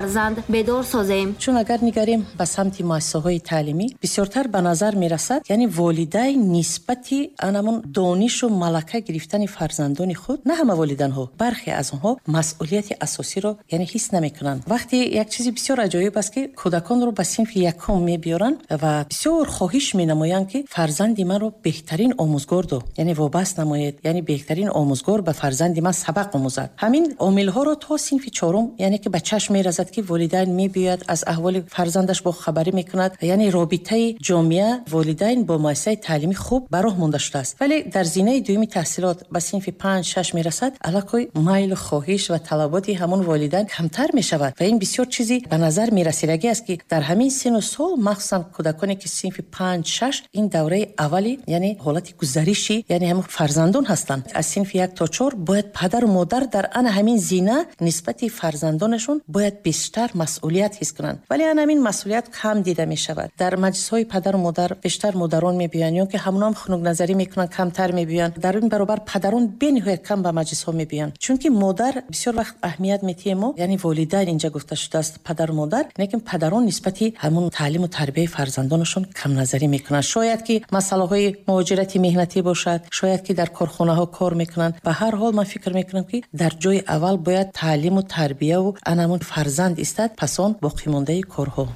Фарзанд бедор созем. Чун агар нигарем ба самти муассисаҳои таълимӣ, бисёртар ба назар мерасад, яъне волидайн нисбати анамун донишу малака гирифтани фарзандони худ, на ҳама волиданҳо, бархе аз онҳо масъулияти асосиро яъне ҳис намекунанд. Вақте як чизи бисёр аҷоиб аст, ки кӯдаконро ба синфи якум мебиёранд ва бисёр хоҳиш менамоянд, ки фарзанди маро беҳтарин омӯзгор до, яъне вобаст намоед, яъне беҳтарин омӯзгор ба фарзанди ман сабақ омӯзад. Ҳамин омилҳоро то синфи чорум, яъне ки ба чашм мерасад, ки волидайн мебиёяд, аз аҳволи фарзандаш бохабарӣ мекунад, яъне робитаи ҷомеа волидайн бо муассисаи таълимӣ хуб ба роҳ монда шудааст. Вале дар зинаи дуюми таҳсилот ба синфи 5-6 мерасад, аллакай майлу хоҳиш ва талаботи ҳамон волидайн камтар мешавад ва ин бисёр чизи ба назар мерасидагӣ аст, ки дар ҳамин сину сол, махсусан кӯдаконе ки синфи 5-6, ин давраи аввали яъне ҳолати гузариши яъне ҳамон фарзандон ҳастанд. Аз синфи 1 то 4 бояд падару модар дар ана ҳамин зина нисбати фарзандонашон бояд бештар масъулият ҳис кунанд. Вале ана ҳамин масъулият кам дида мешавад. Дар маҷлисҳои падару модар бештар модарон мебиёянд ё ки ҳамонам хунукназарӣ мекунанд, камтар мебиёянд. Дар ин баробар падарон бениҳоят кам ба маҷлисҳо мебиёянд, чунки модар бисёр вақт аҳамият метиҳем мо, яъне волидайн инҷа гуфта шудааст падару модар, лекин падарон нисбати ҳамун таълиму тарбияи фарзандонашон камназарӣ мекунанд. Шояд ки масъалаҳои муҳоҷирати меҳнатӣ бошад, шояд ки дар корхонаҳо кор мекунанд. Ба ҳар ҳол ман фикр мекунам, ки дар ҷои аввал бояд таълиму тарбияву анамун фарзанд истад, пас он боқимондаи корҳо.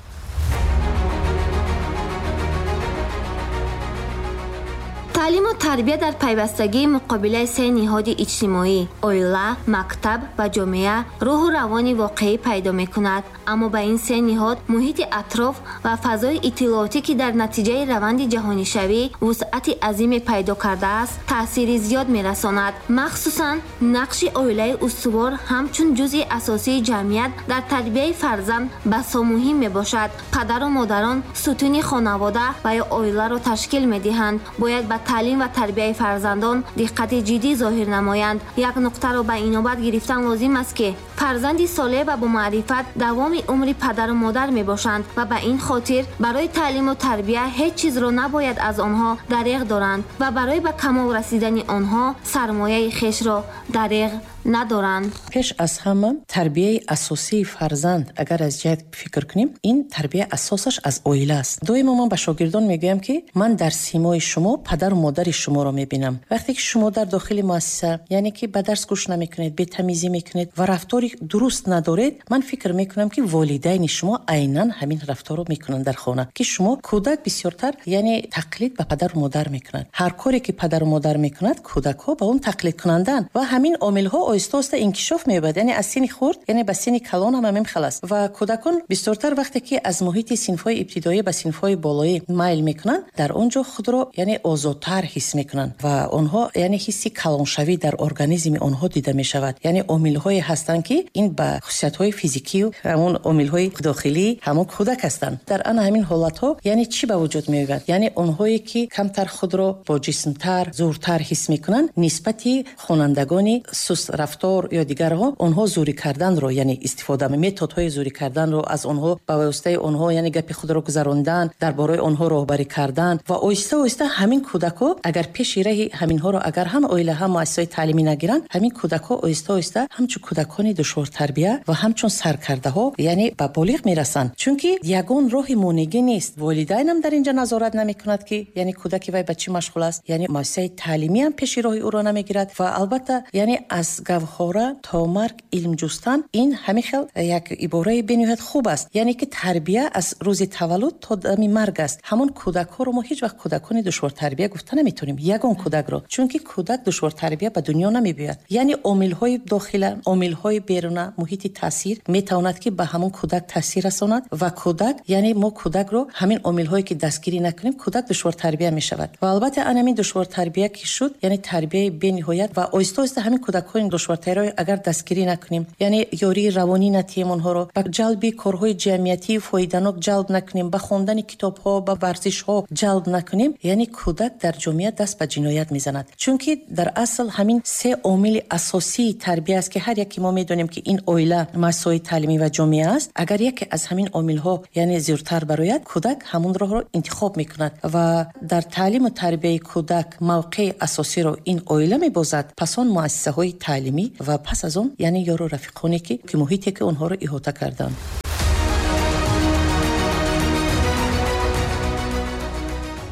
Таълиму тарбия дар пайвастагии муқобилаи се ниҳоди иҷтимоӣ — оила, мактаб ва ҷомеа — рӯҳу равони воқеӣ пайдо мекунад. Аммо ба ин се ниҳод муҳити атроф ва фазои иттилоотӣ, ки дар натиҷаи раванди ҷаҳонишавӣ вусъати азиме пайдо кардааст, таъсири зиёд мерасонад. Махсусан нақши оилаи устувор ҳамчун ҷузъи асосии ҷамъият дар тарбияи фарзанд басо муҳим мебошад. Падару модарон сутуни хонавода ва ё оиларо ташкил медиҳанд, бояд ба таълим ва тарбияи фарзандон диққати ҷиддӣ зоҳир намоянд. Як нуқтаро ба инобат гирифтан лозим аст, ки фарзанди солеҳ ва бомаърифат давоми умри падару модар мебошанд ва ба ин хотир барои таълиму тарбия ҳеҷ чизро набояд аз онҳо дареғ доранд ва барои ба камол расидани онҳо сармояи хешро дареғ надоранд. Пеш аз ҳама тарбияи асосии фарзанд, агар аз ҷиҳат фикр кунем, ин тарбия асосаш аз оила аст. Доимо ман ба шогирдон мегӯям, ки ман дар симои шумо падару модари шуморо мебинам. Вақте ки шумо дар дохили муассиса, яъне ки ба дарс гӯш намекунед, бетамизӣ мекунед ва рафтори дуруст надоред, ман фикр мекунам, ки волидайни шумо айнан ҳамин рафторро мекунанд дар хона, ки шумо кӯдак бисёртар яъне тақлид ба падару модар мекунад. Ҳар коре ки падару модар мекунад, кӯдакҳо ба он тақлид кунанданд ва ҳамин омилҳо оҳиста оҳиста инкишоф меёбад, яъне аз синни хурд яъне ба синни калон ҳам ҳамин хел аст. Ва кӯдакон бисёртар вақте ки аз муҳити синфҳои ибтидоӣ ба синфҳои болоӣ майл мекунанд, дар он ҷо худро яъне озодтар ҳис мекунанд ва онҳо яъне ҳисси калоншавӣ дар организми онҳо дида мешавад. Яъне омилҳое ҳастанд, ки ин ба хусусиятҳои физикию ҳамон омилҳои дохилии ҳамон кӯдак ҳастанд. Дар ана ҳамин ҳолатҳо яъне чӣ ба вуҷуд меояд? Яъне онҳое ки камтар худро бо ҷисмтар, зуртар ҳис мекунанд, нисбати хонандагони сустрафтор ё дигарҳо онҳо зӯрӣ карданро, яъне истифода методҳои зӯрӣ карданро аз онҳо, ба воситаи онҳо яъне гапи худро гузарондан, дар бораи онҳо роҳбарӣ кардан ва оҳиста оҳиста ҳамин кӯдакҳо, агар пеши раҳи ҳаминҳоро агар ҳам оила, ҳам муассисаҳои таълимӣ нагиранд, ҳамин кӯдакҳо оҳиста оҳиста ҳамчун кӯдакони душвортарбия ва ҳамчун саркардаҳо яъне ба болиғ мерасанд, чунки ягон роҳи монегӣ нест. Волидайнам дар инҷа назорат намекунад, ки яъне кӯдаки вай ба чӣ машғул аст, яъне муассисаи таълимиам пеши роҳи ӯро намегирад. Ва албатта, яъне аз гавҳора то марг илм ҷустан, ин ҳамин хел як ибораи бениҳоят хуб аст, яъне ки тарбия аз рӯзи таваллуд то дами марг аст. Ҳамон кӯдакҳоро мо ҳеҷ вақт кӯдакони душвортарбия гуфта наметавонем, ягон кӯдакро, чунки кӯдак душвортарбия ба дунё намебиёяд. Яъне омилҳои дохила, омилҳои беруна, муҳити таъсир метавонад, ки ба ҳамон кӯдак таъсир расонад ва кӯдак, яъне мо кӯдакро ҳамин омилҳое ки дастгирӣ накунем, кӯдак душвортарбия мешавад. Ва албатта ан ҳамин душвортарбия ки шуд, яъне тарбияи бениҳоят ва оҳиста оҳиста ҳамин кӯдакҳои душвортарбияро агар дастгирӣ накунем, яъне ёрии равонӣ натиҳем, онҳоро ба ҷалби корҳои ҷамъиятии фоиданок ҷалб накунем, ба хондани китобҳо, ба варзишҳо ҷалб накунем, яъне кӯдак дар ҷомеа даст ба ҷиноят мезанад. Чунки дар асл ҳамин се омили асосии тарбия аст, ки ҳар яке мо медонем, ки ин оила, муассисаҳои таълимӣ ва ҷомеа аст. Агар яке аз ҳамин омилҳо яъне зиёдтар барояд, кӯдак ҳамон роҳро интихоб мекунад. Ва дар таълиму тарбияи кӯдак мавқеи асосиро ин оила мебозад, пас он муассисаҳои таълимӣ. таълимӣ ва пас аз он яъне ёру рафиқоне ки муҳите ки онҳоро иҳота карданд.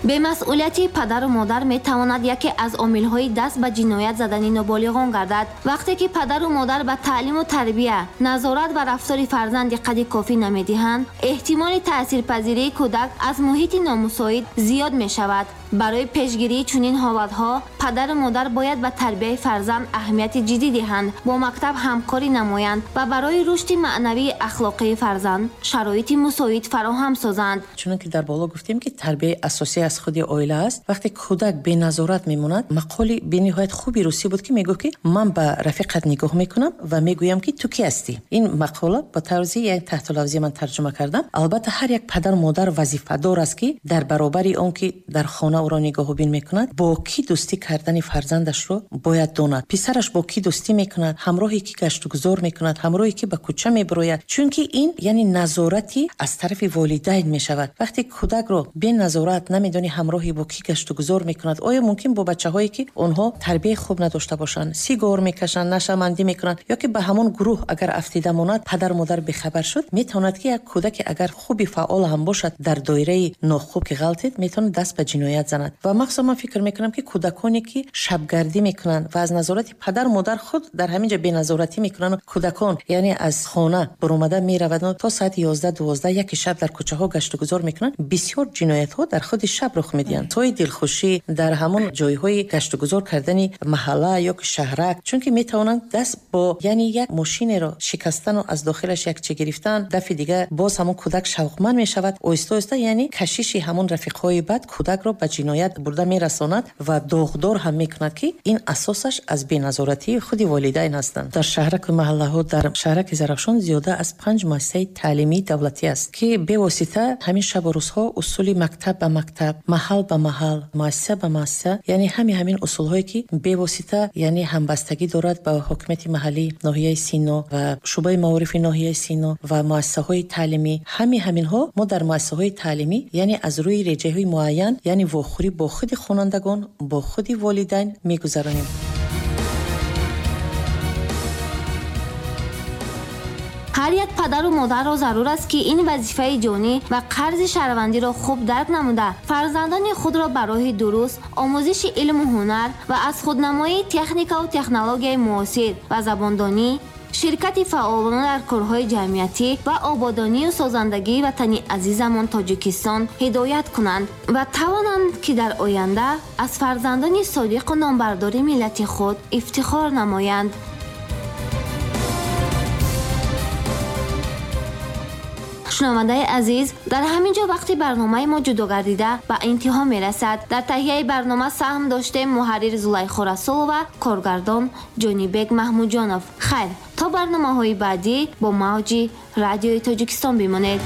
Бемасъулияти падару модар метавонад яке аз омилҳои даст ба ҷиноят задани ноболиғон гардад. Вақте ки падару модар ба таълиму тарбия, назорат ва рафтори фарзанд диққати кофӣ намедиҳанд, эҳтимоли таъсирпазирии кӯдак аз муҳити номусоид зиёд мешавад. Барои пешгирии чунин ҳолатҳо падару модар бояд ба тарбияи фарзанд аҳамияти ҷиддӣ диҳанд, бо мактаб ҳамкорӣ намоянд ва барои рушди маънавии ахлоқии фарзанд шароити мусоид фароҳам созанд. Чунон ки дар боло гуфтем ки тарбияи асосӣ аз худи оила аст, вақте кӯдак беназорат мемонад, мақоли бениҳоят хуби русӣ буд ки мегуфт ки ман ба рафиқат нигоҳ мекунам ва мегӯям ки ту кӣ ҳастӣ. Ин мақола ба тарзи як таҳтулавзӣ ман тарҷума кардам. Албатта ҳар як падару модар вазифадор аст ки дар баробари он ки дар хона ӯро нигоҳубин мекунад, бо кӣ дӯстӣ кардани фарзандашро бояд донад. Писараш бо кӣ дӯстӣ мекунад, ҳамроҳи кӣ гаштугузор мекунад, ҳамроҳи кӣ ба кӯча мебарояд. Чунки ин яъне назорати аз тарафи волидайн мешавад. Вақте кӯдакро беназорат намедонӣ ҳамроҳи бо кӣ гаштугузор мекунад, оё мумкин бо бачаҳое ки онҳо тарбияи хуб надошта бошанд, сигор мекашанд, нашъамандӣ мекунанд, ё ки ба ҳамон гурӯҳ агар афтида монад, падару модар бехабар шуд, метавонад ки як кӯдаке агар хуби фаъол ҳам бошад, дар доираи нохуб ки ғалтид, метавонад даст ба ҷиноят занад. Ва махсусан ман фикр мекунам ки кӯдаконе ки шабгардӣ мекунанд ва аз назорати падару модар худ дар ҳамин ҷо беназоратӣ мекунанд, кӯдакон яъне аз хона баромада мераванд то соати 11-12 яки шаб дар кӯчаҳо гаштугузор мекунанд, бисёр ҷиноятҳо дар худи шаб рух медиҳанд. Тои дилхушӣ дар ҳамон ҷойҳои гаштугузор кардани маҳалла ё ки шаҳрак, чунки метавонанд даст бо яъне як мошинеро шикастану аз дохилаш як чи гирифтан, дафъи дигар боз ҳамон кӯдак шавқманд мешавад. Оҳиста оҳиста яъне кашиши ҳамон рафиқҳои бад кӯдакро ба ҷиноят бурда мерасонад ва доғдор ҳам мекунад ки ин асосаш аз беназоратии худи волидайн ҳастанд. Дар шаҳраку маҳаллаҳо, дар шаҳраки Зарафшон зиёда аз 5 муассисаи таълимии давлатӣ аст ки бевосита ҳамин шабу рӯзҳо усули мактаб ба мактаб, маҳал ба маҳал, муассиса ба муассиса, яъне ҳамин усулҳое ки бевосита яъне ҳамбастагӣ дорад ба ҳокимияти маҳаллӣ ноҳияи Сино ва шӯъбаи маорифи ноҳияи Сино ва муассисаҳои таълимӣ. Ҳаминҳо мо дар муассисаҳои таълимӣ яъне аз рӯи реҷаҳои муайян, яъне вохӯрӣ бо худи хонандагон, бо худи волидайн мегузаронем. Ҳар як падару модарро зарур аст ки ин вазифаи ҷонӣ ва қарзи шаҳрвандиро хуб дарк намуда, фарзандони худро ба роҳи дуруст, омӯзиши илму ҳунар ва аз худнамоии техникаву технологияи муосир ва забондонӣ, ширкати фаъолона дар корҳои ҷамъиятӣ ва ободонию созандагии ватани азизамон Тоҷикистон ҳидоят кунанд ва тавонанд ки дар оянда аз фарзандони содиқу номбардори миллати худ ифтихор намоянд. Шунавандаи азиз, дар ҳамин ҷо вақти барномаи мо ҷудо гардида ба интиҳо мерасад. Дар таҳияи барнома саҳм доштем муҳаррир Зулайхо Расулова, коргардон Ҷонибек Маҳмудҷонов. Хайр, то барномаҳои баъдӣ бо мавҷи радиои Тоҷикистон бимонед.